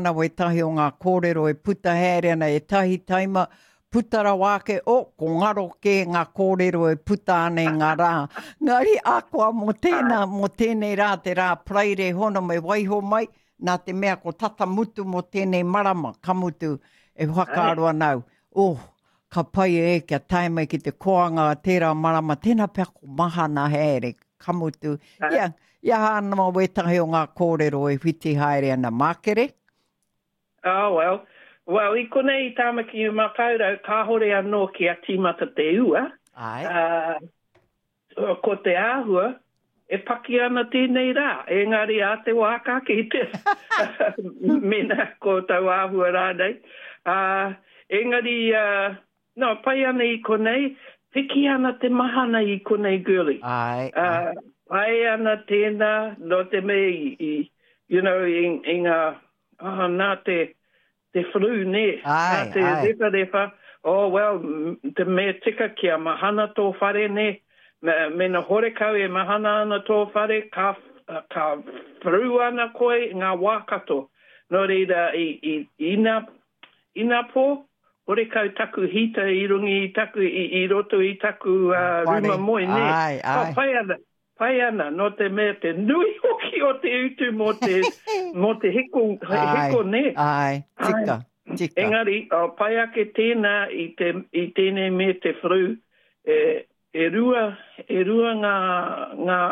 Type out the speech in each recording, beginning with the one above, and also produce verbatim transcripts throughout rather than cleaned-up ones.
ana wētahi o ngā kōrero e puta haere ana ētahi taima, puta rawa ake, oh, ko ngaro kē ngā kōrero e puta ana i ngā rā. Ngari akoa mō tēnā, mō tēnei rā, te rā Paraire hono me waiho mai, nā te mea ko tata mutu mō tēnei marama, ka mutu, e whakaaro ana au, oh, ka pai e kia tae mai ki te koanga tērā marama, tēnā pea ko mahana haere, ka mutu. Ia, ia ana mā wētahi o ngā kōrero e whiti haere ana mākere. Oh, well. Well, i konei i Tāmaki Makaurau, kāhore anō kia tīmata te ua. Ai. Uh, ko te āhua, e paki ana tēnei rā. Engari a te wā ka kite. Mena ko tau āhua rānei. Uh, engari, uh, no, pai ana i konei, piki ana te mahana i konei, girlie. Ai, ai. Uh, pai ana tēnā, no te mea i, i you know, i, i ngā, oh, nā te, te flu, nē, ai, nā te ai. rewharewha, oh, well, te mea tika kia mahana tō whare, nē, me, mena horekau e mahana ana tō whare, ka, ka flu ana koe i ngā wā katoa. Nō reira, i, i, ina, ina pō, horekau taku hita i runga i taku, i, i roto i taku uh, ruma moe, nē. Ai, ai. Oh, pai ana, pai ana, nō te mea te nui hoki o te utu mō te, mō te hiko, hiko, nē. Ai, tika, tika. Engari, oh, pai ake tēnā i, te, i tēnei me te flu, e, e rua, e rua ngā, ngā,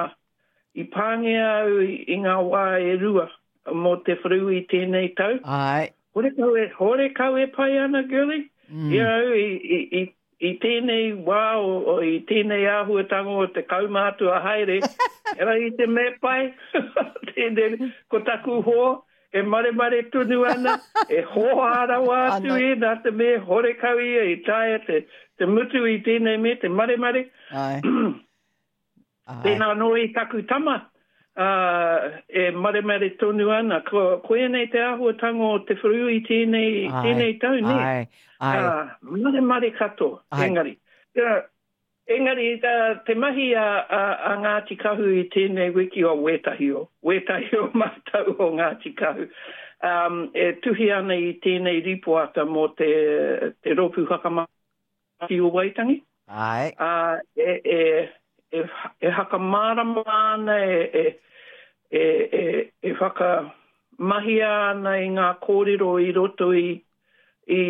i pāngia au i, i ngā wā e rua mō te flu i tēnei tau. Ai. Horekau e, horekau e pai ana, girlie. Mm. I au, i, i, i, i tēnei wā, o, o, i tēnei āhuatanga o te kaumātua haere, era i te mea pai, tēnei, ko taku hoa, e maremare tonu ana, e hoa rawa atu e, nā te mea horekau ia i taea te, te mutu i tēnei me te maremare. Ai. Ai. Tēnā anō i taku tama, uh, e maremare tonu ana. Ko, koianei te āhuatanga o te whiru i tēnei, Ai, tēnei tau, nē? Ai, ai. Uh, maremare katoa, Ai. engari. Uh, engari, uh, te mahi a, a, a Ngāti Kahu i tēnei wiki o wētahi o, wētahi o mātou o Ngāti Kahu, um, e tuhi ana i tēnei ripoata mō te, te rōpū whakamana o Waitangi. Ai. Uh, e, e, e, e hakamārama ana, e, e, e, e, e whakamahia ana i ngā kōrero i roto i, i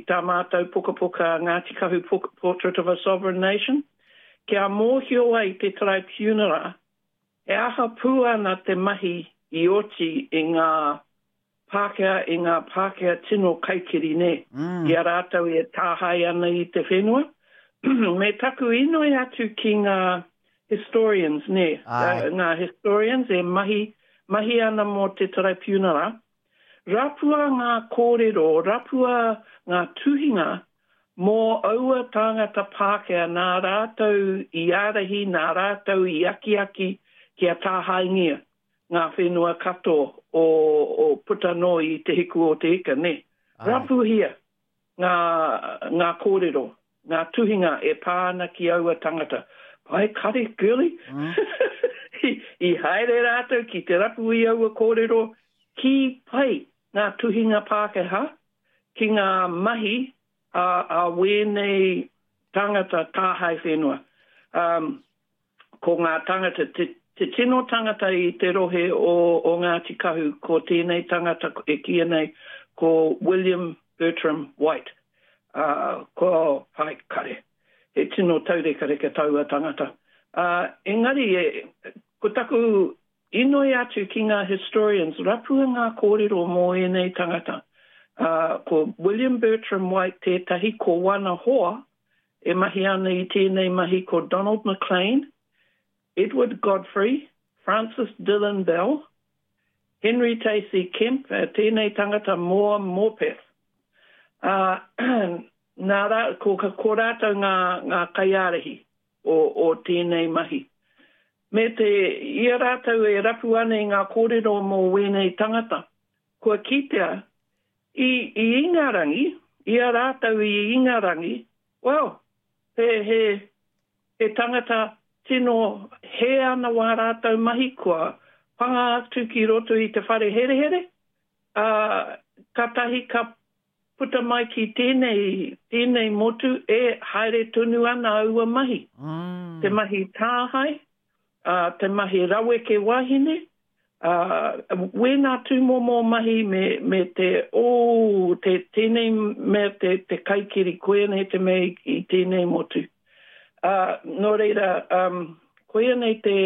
tā mātou pukapuka Ngāti Kahu Portrait of a Sovereign Nation, kia mōhio ai te tribunal, e aha pū ana te mahi i oti i ngā Pākehā, i ngā Pākehā tino kaikiri, nē, Mm. i a rātou e tāhae ana i te whenua. Me taku inoi atu ki ngā historians, nē, Ai. uh, ngā historians e mahi, mahi ana mō te tribunal. Rapua ngā kōrero, rapua ngā tuhinga mō aua tāngata Pākehā nā rātou i ārahi, nā rātou i akiaki kia tāhaengia ngā whenua katoa o, o puta noa i te hiku o te ika, nē. Ai. Rapuhia ngā, ngā kōrero, ngā tuhinga e pā ana ki aua tangata. Pai kare, girlie. Mm. I, i haere rātou ki te rapu i aua kōrero, ki pai ngā tuhinga Pākehā, ki ngā mahi a, a wēnei tangata tāhae whenua. Um, ko ngā tangata, te, te tino tangata i te rohe o, o Ngāti Kahu, ko tēnei tangata e kīia nei, ko William Bertram White. Uh, ko pai kare. He tino taurekareka taua tangata. Uh, engari, e, ko taku inoi atu ki ngā historians, rapua ngā kōrero mō ēnei tangata. Uh, ko William Bertram White tētahi, ko wana hoa, e mahi ana i tēnei mahi ko Donald McLean, Edward Godfrey, Francis Dillon Bell, Henry Tacey Kemp, uh, tēnei tangata Moa Morpeth. Uh, nā rā, ko, ko rātou ngā, ngā kaiārahi o, o tēnei mahi. Me te, ia rātou e rapu ana i ngā kōrero mō wēnei tangata. Kua kitea, i, i Ingarangi, ia rātou i Ingarangi, well, he, he, he tangata tino he ana wā rātou mahi kua panga atu ki roto i te whare herehere, Ā, kātahi ka puta mai ki tēnei, tēnei motu e haere tonu ana aua mahi. Mm. Te mahi tāhae, ā, te mahi raweke wahine, ā, wēnā tūmomo mahi me, me te, oh, te, tēnei mea te, te kaikiri, koianei te mea i, i tēnei motu. Ā, nō reira, um, koianei te,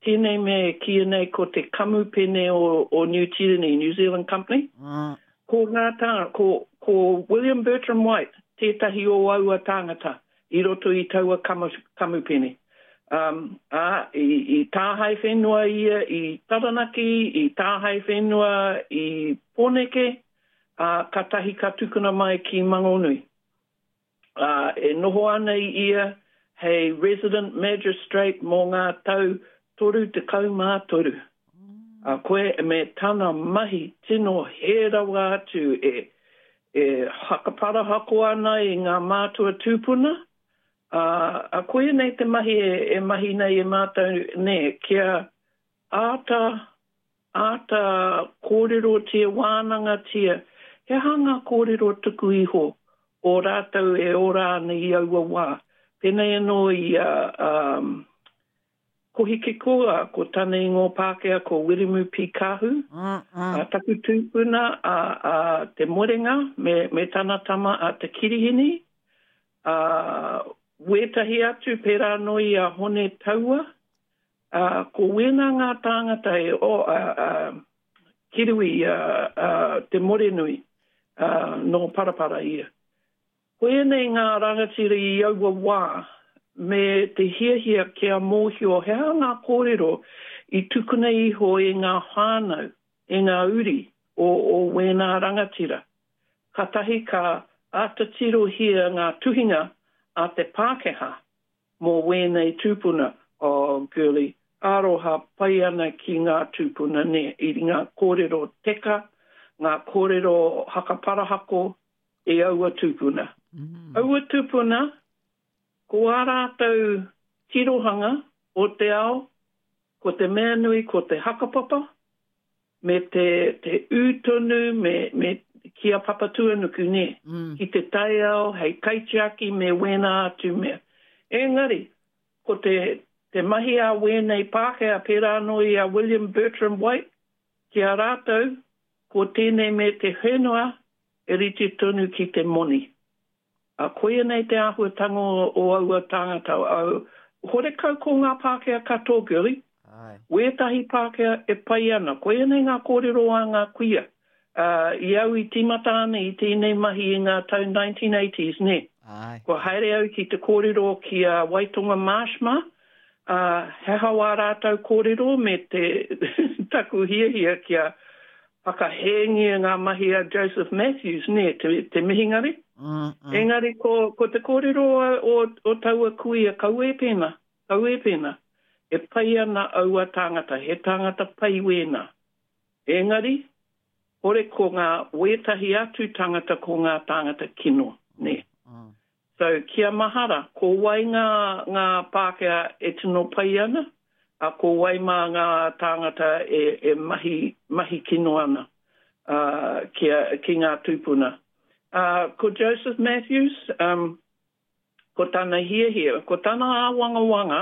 tēnei mea e kīia nei ko te kamupene o, o Niu Tīreni, New Zealand Company. Mm. Ko ngā tāngata, ko, ko William Bertram White tētahi o aua tāngata i roto i taua kamu, kamupene. Um, ā, i, i tāhae whenua ia i Taranaki, i tāhae whenua i Pōneke, ā, kātahi ka tukuna mai ki Mangonui. Ā, e noho ana ia hei resident magistrate mō ngā tau toru tekau mā toru. Ā, koe me tana mahi tino hē rawa atu e, e hakaparahako ana i ngā mātua tūpuna, ā, ā, koia nei te mahi e, e mahi nei e mātou, nē, kia āta, āta kōrerotia, wānangatia, he aha ngā kōrero tuku iho o rātou e ora ana i aua wā. Pēnei anō i a, um, Kohikiko, a, ko tana ingoa Pākehā ko Wiremu P. Kahu, Mm, mm. a taku tūpuna a, a Te Morenga me, me tana tama a Te Kirihini, a, wētahi atu pērā anō i a Hone Taua, a, ko wēnā ngā tāngata e, o, a, a, Kirui, a, a, Te Morenui, a, nō Parapara ia. Koianei ngā rangatira i aua wā me te hiahia kia mōhio he aha ngā kōrero i tukuna iho e ngā whānau, e ngā uri o, o wēnā rangatira. Kātahi ka āta tirohia ngā tuhinga a te Pākehā mō wēnei tūpuna, oh girlie, aroha pai ana ki ngā tūpuna nē, i ngā kōrero teka, ngā kōrero hakaparahako e aua tūpuna. Mm. Aua tūpuna, ko ā rātou tirohanga o te ao, ko te mea nui ko te hakapapa, me te, te ū tonu, me, me ki a Papatūānuku, nē, Mm. ki te taiao, hei kaitiaki me wēnā atu mea. Engari, ko te, te mahi a wēnei Pākehā, pērā anō i a William Bertram White, ki a rātou, ko tēnei me te whenua e rite tonu ki te moni. A koia nei te āhuatanga o, o aua tāngata. Au, horekau ko ngā Pākehā katoa, girlie. Ai. Wētahi Pākehā e pai ana. Koia nei ngā kōrero a ngā kuia. Uh, i au i tīmata ana i tēnei mahi i ngā tau nineteen eighties, nē. Ai. Kua haere au ki te kōrero ki a Waitonga Marsh mā, uh, he aha wā rātou kōrero me te taku hiahia kia whakahēngia ngā mahi a Joseph Matthews, nē, te, te mihingare. Mm, mm. Engari ko, ko te kōrero o, o, o taua kuia, kaua e pēnā, kaua e pēnā. E pai ana aua tāngata, he tāngata pai wēnā. Engari, hore ko ngā wētahi atu tāngata ko ngā tāngata kino, nē. Mm. So, kia mahara, ko wai ngā, ngā Pākehā e tino pai ana, a ko wai mā ngā tāngata e, e mahi, mahi kino ana, uh, ki, a, ki ngā tūpuna. Uh, ko Joseph Matthews, um, ko tana hiahia, ko tana āwangawanga,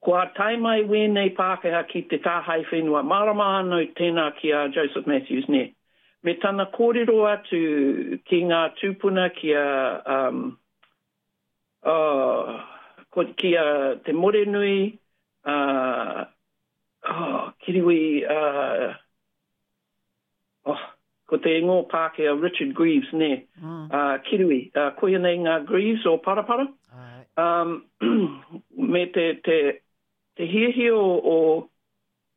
kua tae mai wēnei Pākehā ki te tāhae whenua. Mārama anō tēnā ki a Joseph Matthews, nē. Me tana kōrero atu ki ngā tūpuna ki a, um, oh, ko, ki a Te Morenui, uh, oh, Kiriwi, uh, oh, ko te ingoa Pākehā Richard Greaves, nē. Mm. Uh, Kiriwi, uh, koia nei ngā Greaves o Parapara. Ai. Um, me te, te, te hiahia o, o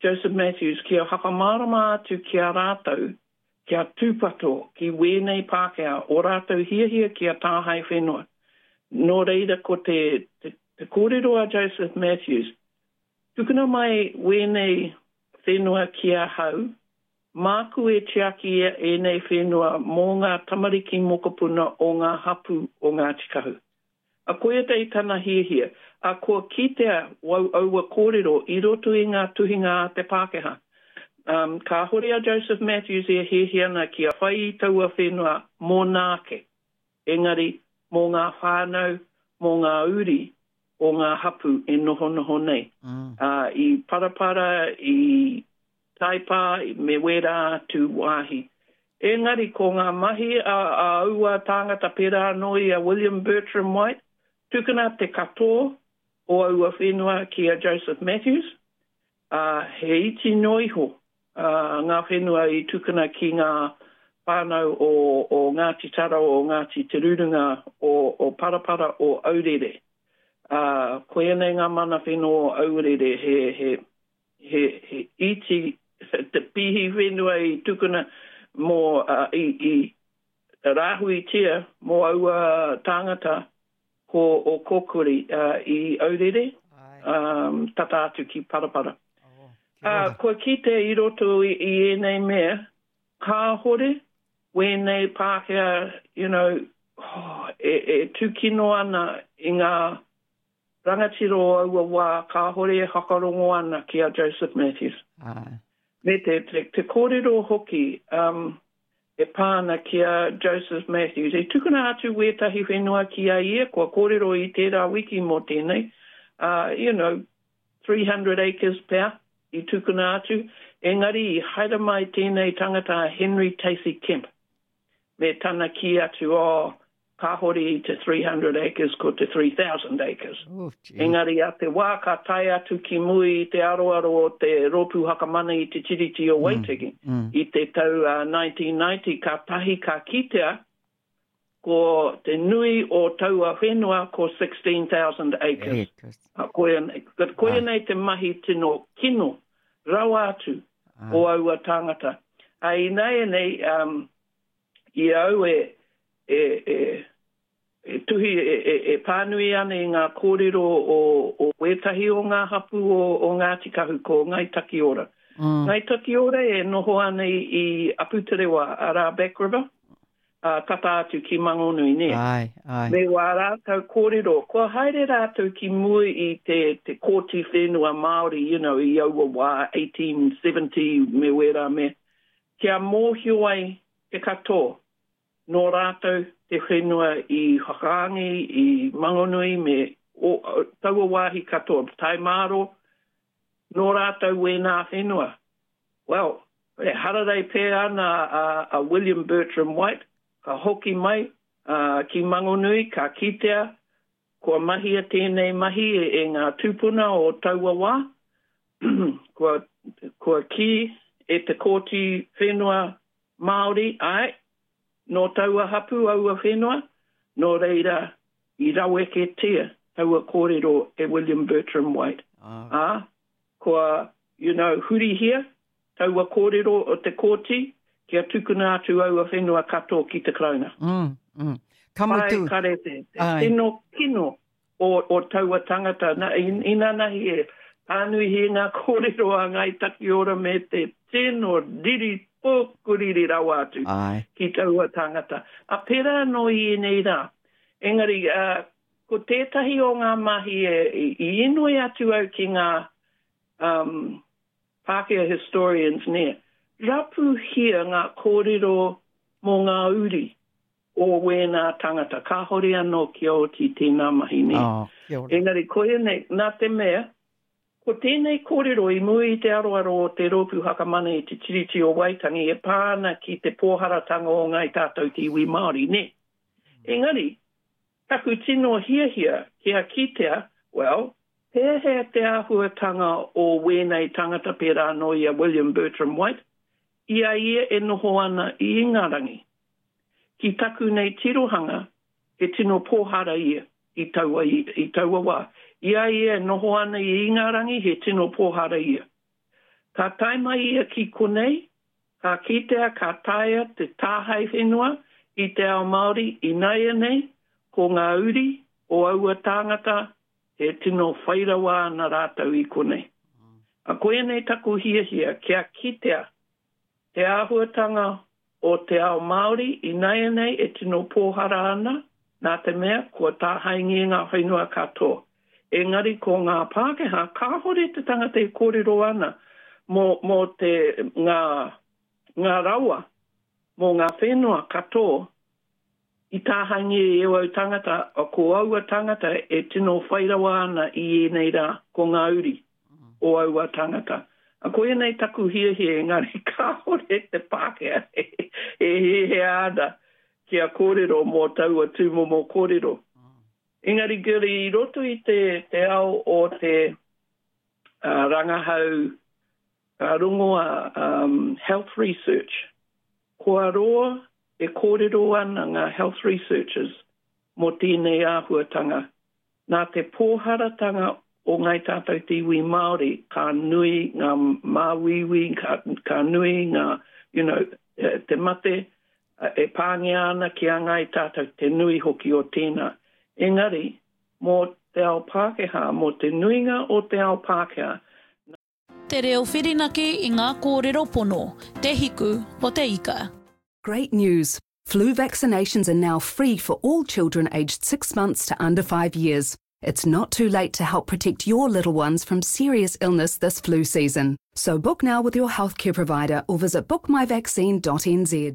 Joseph Matthews kia whakamārama atu ki a rātou, kia tūpato ki wēnei Pākehā, o rātou hiahia ki a tāhae whenua. Nō reira ko te, te, te kōrero a Joseph Matthews, tukuna mai wēnei whenua ki ahau, māku e tiaki ēnei whenua mō ngā tamariki mokopuna o ngā hapū o Ngāti Kahu. A koia te i tana hiahia, a kua kitea wau aua kōrero i roto i ngā tuhinga a te Pākehā. Um, kāhore a Joseph Matthews e hiahia ana kia whai i taua whenua mōna ake, engari mō ngā whānau, mō ngā uri o ngā hapū e nohonoho nei. Mm. Uh, i Parapara, i Taipā, me wērā atu wāhi. Engari ko ngā mahi a, a aua tāngata pērā anō i a William Bertram White, tukuna te katoa o aua whenua ki a Joseph Matthews, ā, he iti noa iho ngā whenua i tukuna ki ngā whānau o, o Ngāti Tara, o Ngāti Te Rurunga, o, o Parapara, o Aurere. Ā, koianei ngā mana whenua o Aurere, he, he, he, he iti te pīhi whenua i tukuna mō, uh, i, i rāhuitia mō aua tāngata ko Ōkōkuri uh, i Aurere, um, tata atu ki Parapara. Oh, kia Uh, ora. kua kite i roto i, i ēnei mea, kāhore wēnei Pākehā, you know, oh, e, e tūkino ana i ngā rangatira o aua wā, kāhore e whakarongo ana ki a Joseph Matthews. Ai. Me te, te, te kōrero hoki um, e pā ana ki a Joseph Matthews. I tukuna atu wētahi whenua ki a ia, kua kōrero i tērā wiki mō tēnei, uh, you know, three hundred acres pea i tukuna atu, engari i haere mai tēnei tangata a Henry Tacey Kemp, me tana kī atu, oh, kāhore i te three hundred acres, ko te three thousand acres. Oh, gee. Engari a te wā ka tae atu ki muri i te aroaro o te Rōpū Whakamana i te Tiriti o Waitaki, Mm, mm. i te tau uh, nineteen ninety, ka tahi ka kitea ko te nui o taua whenua ko sixteen thousand acres. Acres. Uh, koia, koia nei te mahi tino kino rawa atu Ah. o aua tāngata. A ināianei, um, i au e, e, e, e tuhi, e, e, e pānui ana i ngā kōrero o, o wētahi o ngā hapū o, o Ngāti Kahu, ko Ngāi Takiora. Mm. Ngāi Takiora e noho ana i, i Aputerewa, arā Back River, uh, tata atu ki Mangonui, nē. Ai, ai. Me wā rātou kōrero, kua haere rātou ki mua i te, te kōti whenua Māori, you know, i aua wā, eighteen seventy me wērā me, kia mōhio ai te katoa, nō rātou te whenua i Whakaangi, i Mangonui, me o, o, taua wāhi katoa, Taimāro, nō rātou wēnā whenua. Well, e hararei pē ana a, a William Bertram White, ka hoki mai uh, ki Mangonui, ka kitea, kua mahia tēnei mahi e, e ngā tūpuna o taua wā, kua, kua kī e te kōti whenua Māori, ai, nō taua hapu aua whenua, nō reira i raweketia taua kōrero e William Bertram White. Ah. Ā, kua, you know, hurihia taua kōrero o te kōti, kia tukuna atu aua whenua katoa ki te Karauna. Mm, mm. Ka mutu. Ai, kare te, te Ai. tino kino o, o taua tangata. Na, in, inanahi e pānuihi ngā kōrero a Ngāi Takiora me te tino riri pōkuriri rawa atu Ai. ki taua tangata. A pērā anō i ēnei rā. Engari, uh, ko tētahi o ngā mahi e, i, i inoi atu au ki ngā um, Pākehā historians nē. Rapuhia ngā kōrero mō ngā uri o wēnā tangata. Kāhore anō kia oti tēnā mahi nē. Oh, kia ora. Engari, koia nei, nā te mea, ko tēnei kōrero i mua i te aroaro o te Rōpū Whakamana i te Tiriti o Waitangi e pā ana ki te pōharatanga o Ngāi Tātou te iwi Māori, nē. Engari, taku tino hiahia kia kitea, well, pēhea te āhuatanga o wēnei tangata pērā anō i a William Bertram White, i a ia e noho ana i Ingarangi. Ki taku nei tirohanga, he tino pōhara ia i taua, i, i taua wā. I a ia e noho ana i Ingarangi, he tino pōhara ia. Ka tae mai ia ki konei, ka kitea ka taea te tāhae whenua i te ao Māori ināianei, ko ngā uri o aua tāngata he tino whairawa ana rātou i konei. A koia nei taku hiahia kia kitea te āhuatanga o te ao Māori ināianei e tino pōhara ana, nā te mea kua tāhaengia ngā whenua katoa. Engari ko ngā Pākehā, kāhore te tangata e kōrero ana, mō, mō te, ngā, ngā rawa, mō ngā whenua katoa i tāhaengia e au tangata, ko aua tangata e tino whai rawa ana i ēnei rā, ko ngā uri o aua tangata. A koia nei taku hiahia engari kāore te Pākehā e, e hiahia ana kia kōrero mō taua tūmomo kōrero. Engari Girlie, i roto i te, te ao o te uh, rangahau uh, rongoa um, health research, kua roa e kōrero ana ngā health researchers mō tēnei āhuatanga. Nā te pōharatanga o ngai tātou te iwi Māori, ka nui ngā māuiui, ka, ka nui ngā, you know, te mate e pāngia ana ki a ngai tātou te nui hoki o tēnā. Engari, mō te ao Pākehā, mō te nuinga o te ao Pākehā, Te reo whirinaki i ngā kōrero pono, te hiku o te ika. Great news! Flu vaccinations are now free for all children aged six months to under five years. It's not too late to help protect your little ones from serious illness this flu season. So book now with your healthcare provider or visit bookmyvaccine dot N Z.